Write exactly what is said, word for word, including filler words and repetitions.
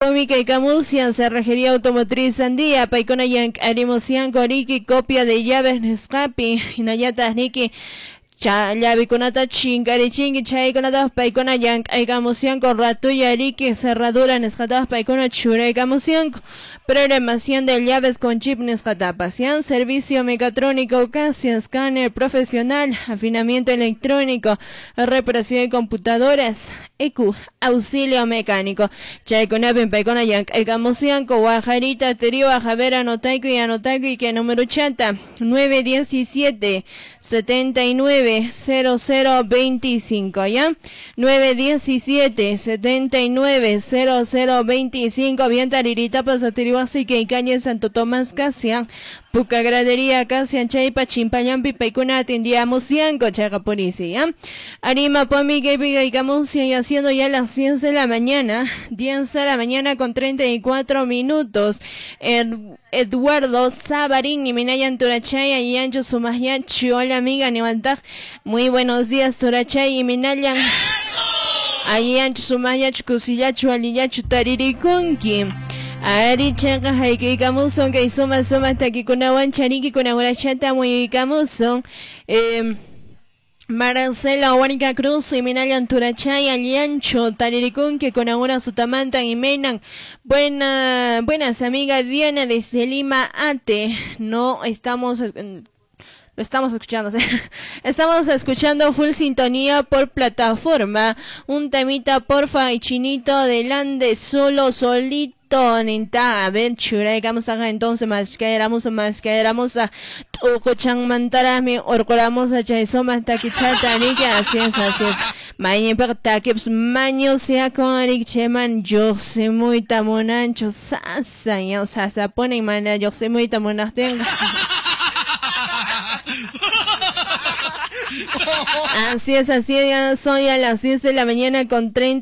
Mica y Camusian, Cerrajería Automotriz Sandía, Paicona Yank, Coriki, copia de llaves Nescapi, Inayata Niki, Llavikunata chinkarichinki chaykunata paykuna llank'aykamusyanku ratulla riki cerradura nisqatapas paykuna churaykamusyanku programación de llaves con chip nisqatapas yan servicio mecatrónico casi escáner profesional afinamiento electrónico reparación de computadoras E Q auxilio mecánico chaykunapin paykuna llank'aykamusyanku Guajarita Teriwa Javier anotayku y anotayku y que número chata nueve diecisiete setenta y nueve cero cero veinticinco, ¿ya? nueve diecisiete setenta y nueve cero cero veinticinco, bien taririta pasatiriwasi que calle Santo Tomás Casia, Puca Gradería Casia, Chaipa, Chimpayampi, Paicuna, atendíamos Yanco, Chacapurici, ¿ya? Arima, Pomi, Gebiga y Camusia, y haciendo ya las diez de la mañana, diez de la mañana con treinta y cuatro minutos. El Eduardo Sabarín y Minayan Turachay y Ancho Sumayachi. Hola amiga Nivantaj, muy buenos días Turachay y Minayan. Ahí Ancho Sumayachu, Kusillachu, Aliyachu, Taririkunki. Ari chanka haikikamuson kay suma suma takikunawan chariki kunawachata muyikamuson. Eh, Marcela Huánica Cruz y Minayan Turachay, Aliancho, Tariricún, que con ahora Sutamantan y Menan. Buena, buenas amiga Diana desde Lima Ate. No estamos, lo estamos escuchando. Estamos escuchando full sintonía por plataforma. Un temita porfa y chinito delante solo solito. Ninta, a ver, chura, vamos a entonces más que éramos más que éramos a Tucochan mantarami, orcolamos a Chaisoma, taquichata, ni que así es, así es. Mañe, pero taquips, maño sea con Eric Cheman, yo sé muy tamonancho, sasa, ya, o sea, se ponen mana, yo sé muy tamonancho. Así es, así es, ya son ya las diez de la mañana con treinta.